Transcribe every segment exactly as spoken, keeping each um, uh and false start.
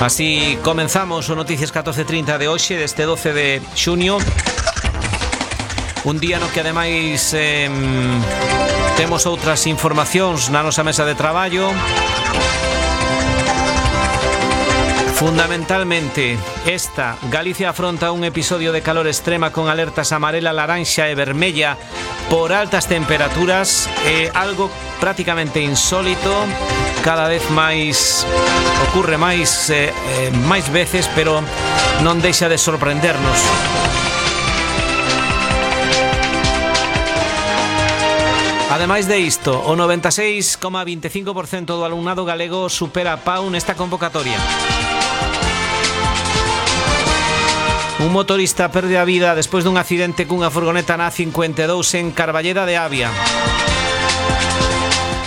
Así comenzamos o Noticias catorce trinta de hoxe, deste doce de xuño. Un día no que ademais eh, temos outras informacións na nosa mesa de traballo. Fundamentalmente, esta, Galicia afronta un episodio de calor extrema con alertas amarela, laranxa e vermella por altas temperaturas, eh, algo prácticamente insólito, cada vez máis ocurre máis eh, eh, máis veces, pero non deixa de sorprendernos. Ademais de isto, o noventa e seis coma veinticinco por ciento do alumnado galego supera a PAU nesta convocatoria. Un motorista perde a vida despois dun accidente cunha furgoneta na A cincuenta e dous en Carballeda de Avia.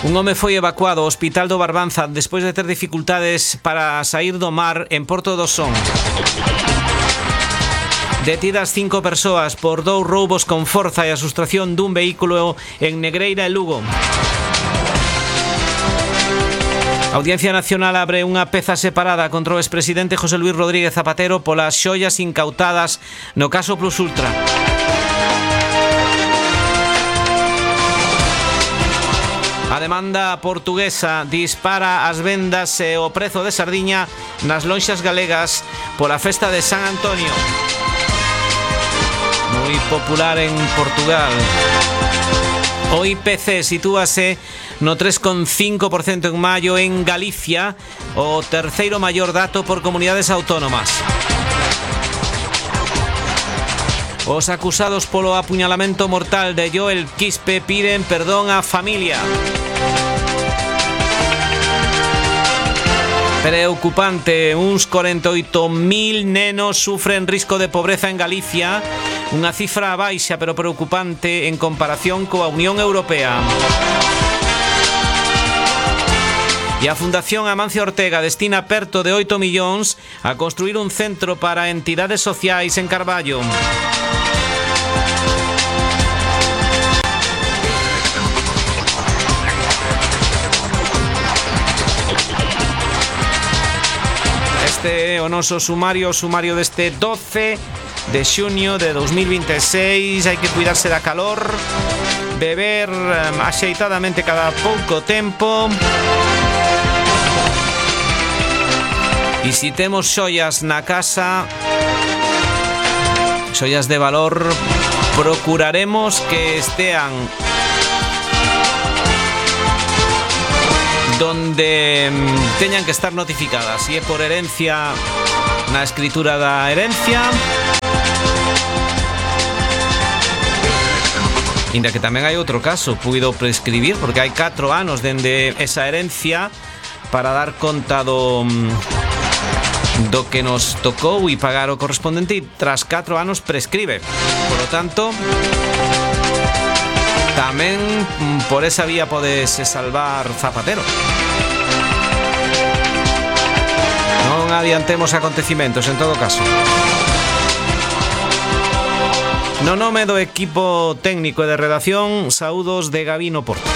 Un home foi evacuado ao Hospital do Barbanza despois de ter dificultades para saír do mar en Porto do Son. Detidas cinco persoas por dous roubos con forza e a sustracción dun vehículo en Negreira e Lugo. A Audiencia Nacional abre unha peza separada contra o expresidente José Luís Rodríguez Zapatero polas xoias incautadas no caso Plus Ultra. A demanda portuguesa dispara as vendas e o prezo de sardiña nas lonxas galegas pola festa de San Antonio. Moi popular en Portugal. O I P C sitúase no tres coma cinco por ciento en maio en Galicia, o terceiro maior dato por comunidades autónomas. Os acusados polo apuñalamento mortal de Joel Quispe piden perdón á familia. Preocupante, uns corenta e oito mil nenos sufren risco de pobreza en Galicia, unha cifra baixa pero preocupante en comparación coa Unión Europea. E a Fundación Amancio Ortega destina perto de oito millóns a construir un centro para entidades sociais en Carballo. Este é o noso sumario, o sumario deste doce de xuño de dos mil vinte e seis. Hai que cuidarse da calor, beber um, axeitadamente cada pouco tempo. E se temos xoias na casa, xoias de valor, procuraremos que estean donde teñan que estar notificadas. E é por herencia, na escritura da herencia, inda que tamén hai outro caso, puido prescribir porque hai catro anos dende esa herencia para dar conta do do que nos tocou e pagar o correspondente, e tras catro anos prescribe. Por lo tanto, tamén por esa vía podese salvar Zapatero. Non adiantemos acontecimentos, en todo caso. No nome do equipo técnico e de redacción, saúdos de Gabino Porto.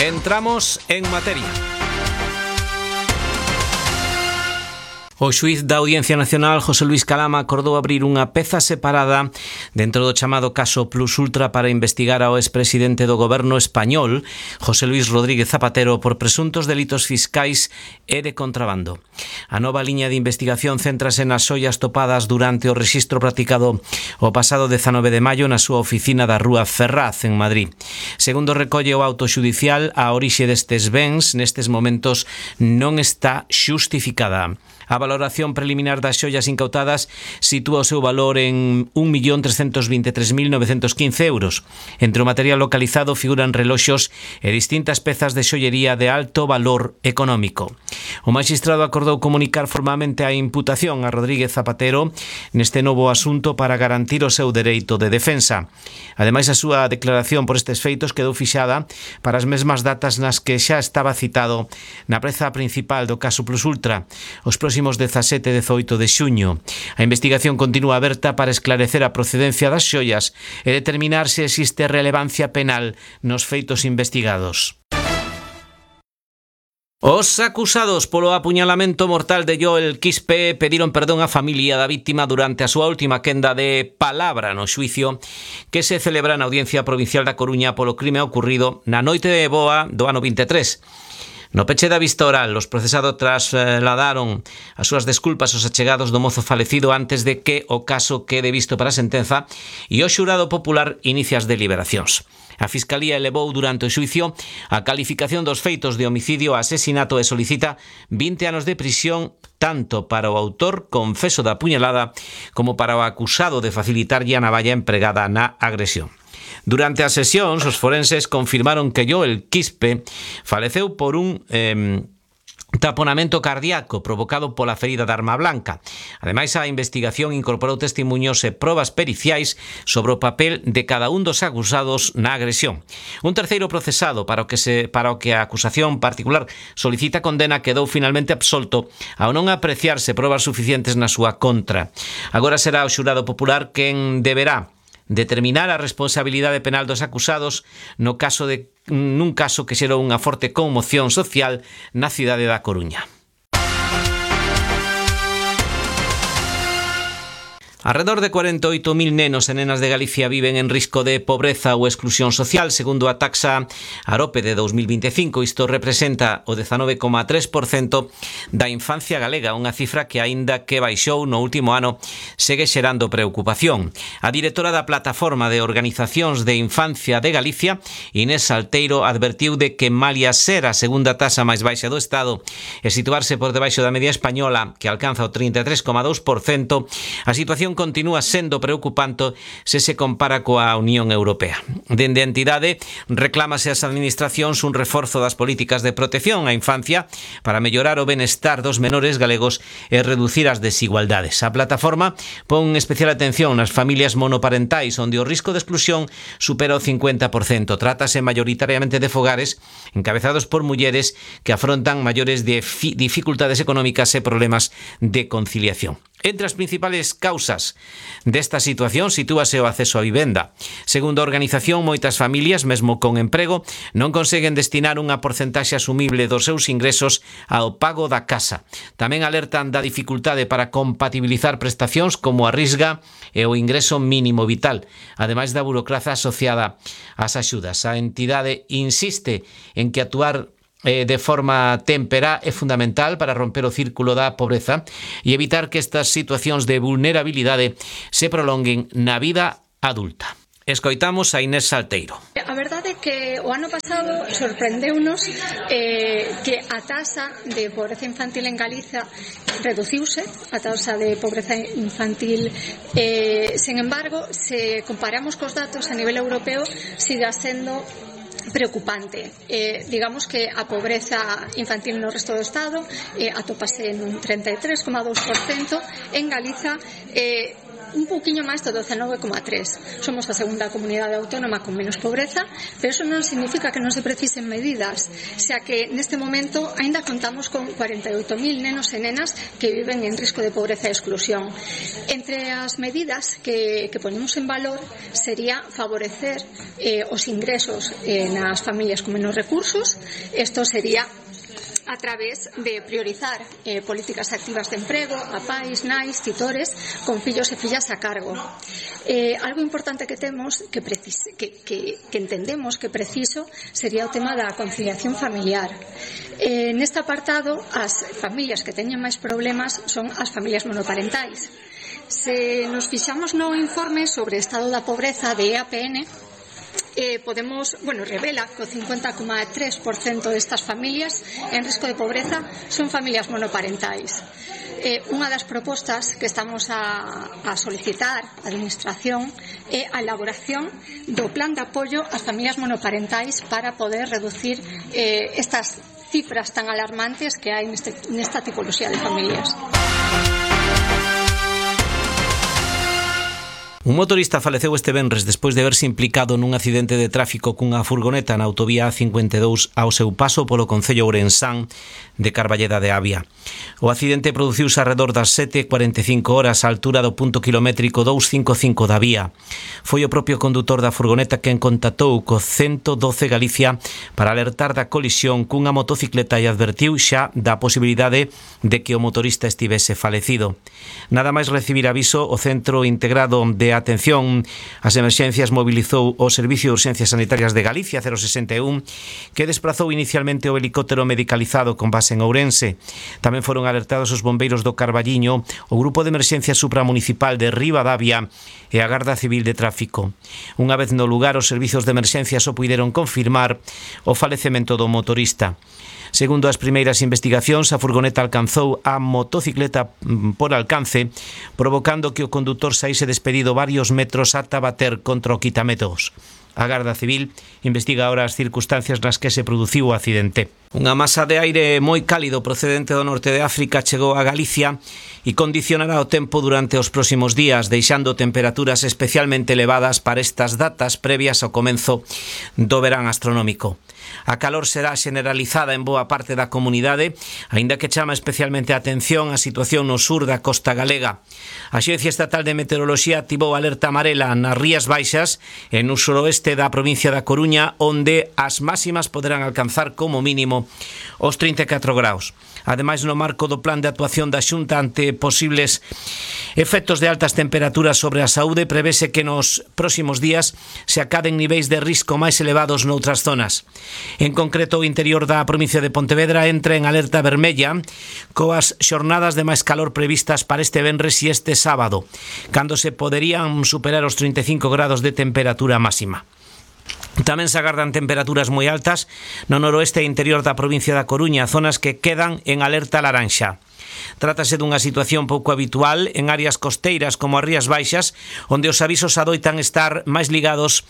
Entramos en materia. O xuíz da Audiencia Nacional, José Luís Calama, acordou abrir unha peza separada dentro do chamado caso Plus Ultra para investigar ao expresidente do goberno español, José Luís Rodríguez Zapatero, por presuntos delitos fiscais e de contrabando. A nova liña de investigación céntrase nas xoias topadas durante o rexistro practicado o pasado dezanove de maio na súa oficina da Rúa Ferraz, en Madrid. Segundo recolle o auto xudicial, a orixe destes bens nestes momentos non está xustificada. A valoración preliminar das xoias incautadas sitúa o seu valor en un millón trescentos vinte e tres mil novecentos quince euros. Entre o material localizado figuran reloxos e distintas pezas de xollería de alto valor económico. O magistrado acordou comunicar formalmente a imputación a Rodríguez Zapatero neste novo asunto para garantir o seu dereito de defensa. Ademais, a súa declaración por estes feitos quedou fixada para as mesmas datas nas que xa estaba citado na preza principal do caso Plus Ultra. Os próximos próximos dezasete e dezoito de xuño. A investigación continúa aberta para esclarecer a procedencia das xoias e determinar se existe relevancia penal nos feitos investigados. Os acusados polo apuñalamento mortal de Joel Quispe pediron perdón á familia da vítima durante a súa última quenda de palabra no xuicio que se celebra na Audiencia Provincial da Coruña polo crime ocorrido na noite de boa do ano vinte e tres. No peche da vista oral, os procesados trasladaron as súas desculpas aos achegados do mozo falecido antes de que o caso quede visto para a sentenza e o xurado popular inicia as deliberacións. A Fiscalía elevou durante o xuicio a calificación dos feitos de homicidio a asesinato e solicita vinte anos de prisión tanto para o autor confeso da puñalada como para o acusado de facilitarlle a navalla empregada na agresión. Durante as sesións, os forenses confirmaron que Joel Quispe faleceu por un eh, taponamento cardíaco provocado pola ferida de arma blanca. Ademais, a investigación incorporou testemuños e probas periciais sobre o papel de cada un dos acusados na agresión. Un terceiro procesado para o que se para o que a acusación particular solicita condena quedou finalmente absolto ao non apreciarse probas suficientes na súa contra. Agora será o xurado popular quen deberá determinar a responsabilidade penal dos acusados no caso de nun caso que xerou unha forte conmoción social na cidade da Coruña. Alrededor de cuarenta e oito mil nenos e nenas de Galicia viven en risco de pobreza ou exclusión social, segundo a taxa Arope de dos mil vinte e cinco. Isto representa o dezanove coma tres por cento da infancia galega, unha cifra que, aínda que baixou no último ano, segue xerando preocupación. A directora da Plataforma de Organizacións de Infancia de Galicia, Inés Salteiro, advertiu de que malia ser a segunda taxa máis baixa do Estado e situarse por debaixo da media española, que alcanza o trinta e tres coma dous por cento, a situación continúa sendo preocupante se se compara coa Unión Europea. Dende a entidade reclámase ás administracións un reforzo das políticas de protección á infancia para mellorar o benestar dos menores galegos e reducir as desigualdades. A plataforma pon especial atención nas familias monoparentais onde o risco de exclusión supera o cincuenta por cento. Trátase maioritariamente de fogares encabezados por mulleres que afrontan maiores dificultades económicas e problemas de conciliación. Entre as principales causas desta situación sitúase o acceso á vivenda. Segundo a organización, moitas familias, mesmo con emprego, non conseguen destinar unha porcentaxe asumible dos seus ingresos ao pago da casa. Tamén alertan da dificultade para compatibilizar prestacións como a risga e o ingreso mínimo vital, ademais da burocracia asociada ás axudas. A entidade insiste en que actuar de forma témpera é fundamental para romper o círculo da pobreza e evitar que estas situacións de vulnerabilidade se prolonguen na vida adulta. Escoitamos a Inés Salteiro. A verdade é que o ano pasado sorprendeunos eh, que a taxa de pobreza infantil en Galiza reduciuse, a taxa de pobreza infantil, eh, sen embargo, se comparamos cos datos a nivel europeo, siga sendo preocupante. Eh, digamos que a pobreza infantil no resto do Estado eh, atópase nun treinta e tres coma dous por cento, en Galiza eh, un pouquiño máis do dezanove coma tres. Somos a segunda comunidade autónoma con menos pobreza, pero eso non significa que non se precisen medidas, xa que neste momento aínda contamos con cuarenta e oito mil nenos e nenas que viven en risco de pobreza e exclusión. Entre as medidas que, que ponemos en valor sería favorecer eh, os ingresos eh, nas familias con menos recursos. Isto sería a través de priorizar eh, políticas activas de emprego a pais, nais, titores con fillos e fillas a cargo. Eh, algo importante que temos que, precis- que, que, que entendemos que preciso sería o tema da conciliación familiar. Eh, neste apartado, as familias que teñen máis problemas son as familias monoparentais. Se nos fixamos no informe sobre o estado da pobreza de E A P N, Eh, podemos, bueno, revela que o cincuenta coma tres por cento destas familias en risco de pobreza son familias monoparentais. Eh, unha das propostas que estamos a, a solicitar á Administración é a elaboración do plan de apoio ás familias monoparentais para poder reducir eh, estas cifras tan alarmantes que hai neste, nesta tipoloxía de familias. Un motorista faleceu este venres despois de verse implicado nun accidente de tráfico cunha furgoneta na autovía A cincuenta e dous ao seu paso polo concello ourensán de Carballeda de Avia. O accidente produciuse arredor das sete e cuarenta e cinco horas á altura do punto kilométrico doscientos cincuenta e cinco da vía. Foi o propio condutor da furgoneta quen contactou co ciento doce Galicia para alertar da colisión cunha motocicleta e advertiu xa da posibilidade de que o motorista estivese falecido. Nada máis recibir aviso, o Centro Integrado de Atención ás Emerxencias mobilizou o Servicio de Urxencias Sanitarias de Galicia cero sesenta e un, que desplazou inicialmente o helicóptero medicalizado con base en Ourense. Tamén foron alertados os bombeiros do Carballiño, o Grupo de Emerxencia Supramunicipal de Ribadavia e a Garda Civil de Tráfico. Unha vez no lugar, os servizos de emerxencia só puideron confirmar o falecemento do motorista. Segundo as primeiras investigacións, a furgoneta alcanzou a motocicleta por alcance, provocando que o condutor saíse despedido varios metros ata bater contra o quitametros. A Garda Civil investiga ahora as circunstancias nas que se produciu o accidente. Unha masa de aire moi cálido procedente do norte de África chegou a Galicia e condicionará o tempo durante os próximos días, deixando temperaturas especialmente elevadas para estas datas previas ao comenzo do verán astronómico. A calor será generalizada en boa parte da comunidade, aínda que chama especialmente a atención a situación no sur da costa galega. A Axencia Estatal de Meteoroloxía activou alerta amarela nas Rías Baixas e no suroeste da provincia da Coruña, onde as máximas poderán alcanzar como mínimo os trinta e catro graus. Ademais, no marco do plan de actuación da Xunta ante posibles efectos de altas temperaturas sobre a saúde, prevese que nos próximos días se acaden niveis de risco máis elevados noutras zonas. En concreto, o interior da provincia de Pontevedra entra en alerta vermella coas xornadas de máis calor previstas para este venres e este sábado, cando se poderían superar os trinta e cinco grados de temperatura máxima. Tamén se agardan temperaturas moi altas no noroeste e interior da provincia da Coruña, zonas que quedan en alerta laranxa. Trátase dunha situación pouco habitual en áreas costeiras como as Rías Baixas, onde os avisos adoitan estar máis ligados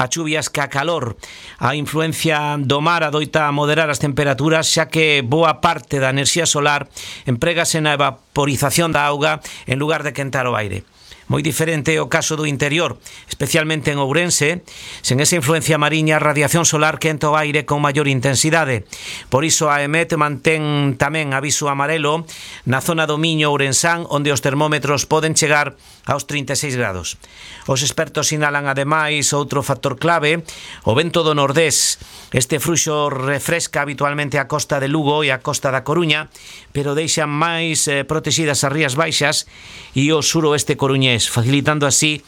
a chuvias que a calor. A influencia do mar adoita a moderar as temperaturas, xa que boa parte da enerxía solar emprégase na evaporización da auga en lugar de quentar o aire. Moi diferente é o caso do interior, especialmente en Ourense. Sen esa influencia mariña, a radiación solar quenta o aire con maior intensidade. Por iso a EMET mantén tamén aviso amarelo na zona do Miño ourensán, onde os termómetros poden chegar aos trinta e seis grados. Os expertos sinalan ademais outro factor clave, o vento do nordés. Este fruxo refresca habitualmente a costa de Lugo e a costa da Coruña, pero deixan máis eh, protegidas as Rías Baixas e o suroeste coruñés, facilitando así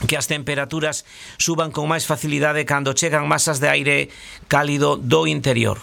que as temperaturas suban con máis facilidade cando chegan masas de aire cálido do interior.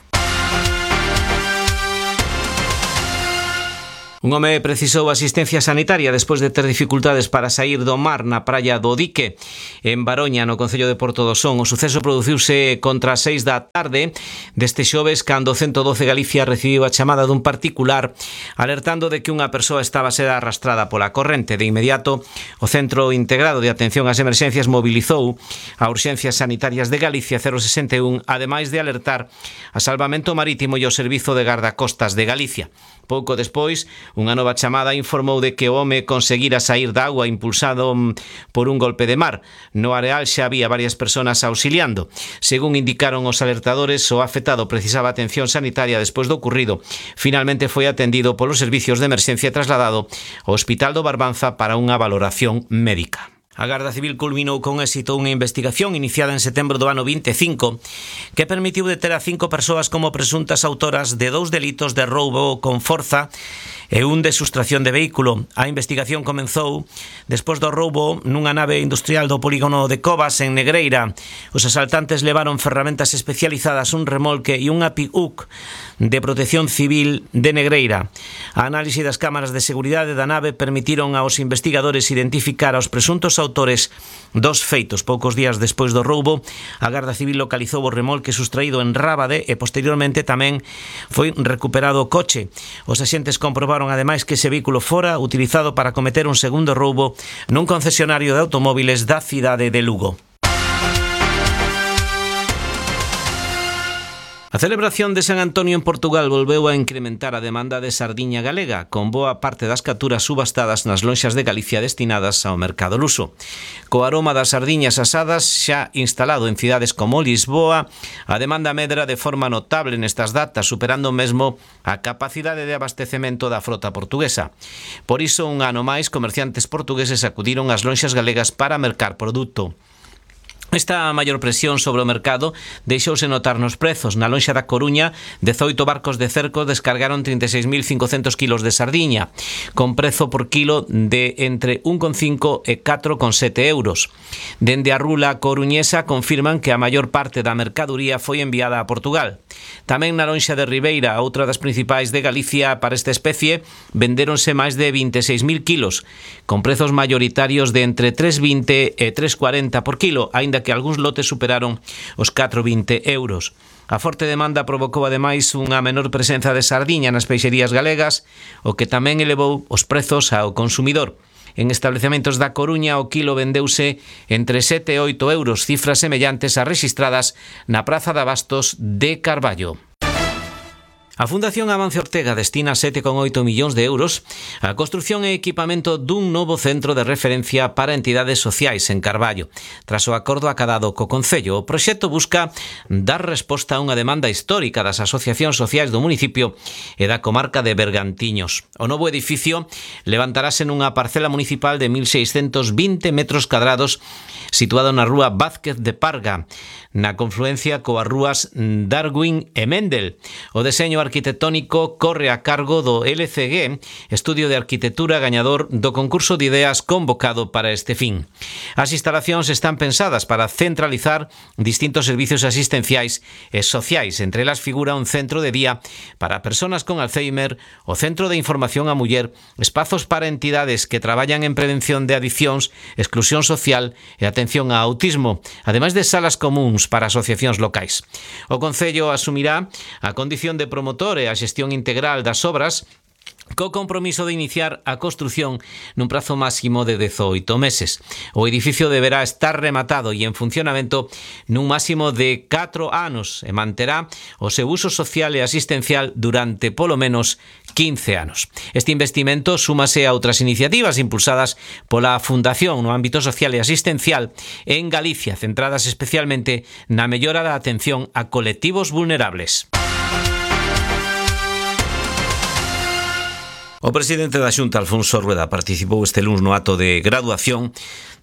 Un home precisou asistencia sanitaria despois de ter dificultades para sair do mar na praia do Dique, en Baroña, no concello de Porto do Son. O suceso produciuse contra as seis da tarde deste xoves, cando o ciento doce Galicia recibiu a chamada dun particular alertando de que unha persoa estaba a ser arrastrada pola corrente. De inmediato, o Centro Integrado de Atención ás Emerxencias mobilizou a Urxencias Sanitarias de Galicia cero sesenta e un, ademais de alertar a Salvamento Marítimo e o Servizo de Gardacostas de Galicia. Pouco despois, unha nova chamada informou de que o home conseguira sair da agua impulsado por un golpe de mar. No areal xa había varias persoas auxiliando. Según indicaron os alertadores, o afectado precisaba atención sanitaria despois do ocurrido. Finalmente foi atendido polos servicios de emerxencia e trasladado ao Hospital do Barbanza para unha valoración médica. A Garda Civil culminou con éxito unha investigación iniciada en setembro do ano vinte e cinco que permitiu deter a cinco persoas como presuntas autoras de dous delitos de roubo con forza e un de sustracción de vehículo. A investigación comenzou despois do roubo nunha nave industrial do polígono de Covas, en Negreira. Os asaltantes levaron ferramentas especializadas, un remolque e unha pick-up de protección civil de Negreira. A análise das cámaras de seguridade da nave permitiron aos investigadores identificar aos presuntos autores dos feitos. Poucos días despois do roubo, a Garda Civil localizou o remolque sustraído en Rábade e posteriormente tamén foi recuperado o coche. Os axentes comprobaron ademais que ese vehículo fora utilizado para cometer un segundo roubo nun concesionario de automóviles da cidade de Lugo. A celebración de San Antonio en Portugal volveu a incrementar a demanda de sardiña galega, con boa parte das capturas subastadas nas lonxas de Galicia destinadas ao mercado luso. Co aroma das sardiñas asadas xa instalado en cidades como Lisboa, a demanda medra de forma notable nestas datas, superando mesmo a capacidade de abastecemento da frota portuguesa. Por iso, un ano máis, comerciantes portugueses acudiron ás lonxas galegas para mercar produto. Esta maior presión sobre o mercado deixouse notar nos prezos. Na lonxa da Coruña, dezoito barcos de cerco descargaron trinta e seis mil cincocentos kilos de sardiña, con prezo por kilo de entre un coma cinco e catro coma sete euros. Dende a rula coruñesa confirman que a maior parte da mercadoría foi enviada a Portugal. Tamén na lonxa de Ribeira, outra das principais de Galicia para esta especie, vendéronse máis de vinte e seis mil kilos, con prezos maioritarios de entre tres coma vinte e tres coma cuarenta por kilo, aínda que algúns lotes superaron os catro coma vinte euros. A forte demanda provocou ademais unha menor presenza de sardiña nas peixerías galegas, o que tamén elevou os prezos ao consumidor. En establecementos da Coruña o kilo vendeuse entre sete e oito euros, cifras semellantes ás rexistradas na Praza de Abastos de Carballo. A Fundación Amancio Ortega destina sete coma oito millóns de euros á construción e equipamento dun novo centro de referencia para entidades sociais en Carballo. Tras o acordo acadado co Concello, o proxecto busca dar resposta a unha demanda histórica das asociacións sociais do municipio e da comarca de Bergantiños. O novo edificio levantarase nunha parcela municipal de mil seiscentos vinte metros cadrados situado na rúa Vázquez de Parga, na confluencia coas rúas Darwin e Mendel. O deseño arquitectónico corre a cargo do L C G, Estudio de Arquitectura gañador do concurso de ideas convocado para este fin. As instalacións están pensadas para centralizar distintos servicios asistenciais e sociais. Entre elas figura un centro de día para persoas con Alzheimer, o Centro de Información á Muller, espazos para entidades que traballan en prevención de adiccións, exclusión social e atención a autismo, ademais de salas comuns para asociacións locais. O Concello asumirá a condición de promotor e a xestión integral das obras, co compromiso de iniciar a construción nun prazo máximo de dezoito meses. O edificio deberá estar rematado e en funcionamento nun máximo de catro anos e manterá o seu uso social e asistencial durante polo menos quince anos. Este investimento súmase a outras iniciativas impulsadas pola Fundación no ámbito social e asistencial en Galicia, centradas especialmente na mellora da atención a colectivos vulnerables. O presidente da Xunta, Alfonso Rueda, participou este luns no acto de graduación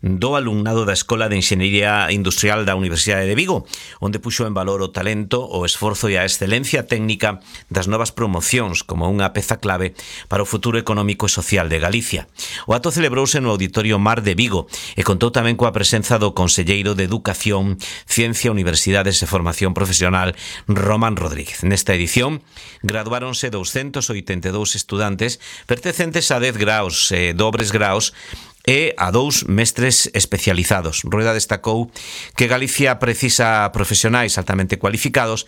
do alumnado da Escola de Enxeñería Industrial da Universidade de Vigo, onde puxo en valor o talento, o esforzo e a excelencia técnica das novas promocións como unha peza clave para o futuro económico e social de Galicia. O acto celebrouse no Auditorio Mar de Vigo e contou tamén coa presenza do Conselleiro de Educación, Ciencia, Universidades e Formación Profesional, Román Rodríguez. Nesta edición, graduáronse doscientos oitenta e dous estudantes pertencentes a dez graos e dobres graos e a dous mestres especializados. Rueda destacou que Galicia precisa profesionais altamente cualificados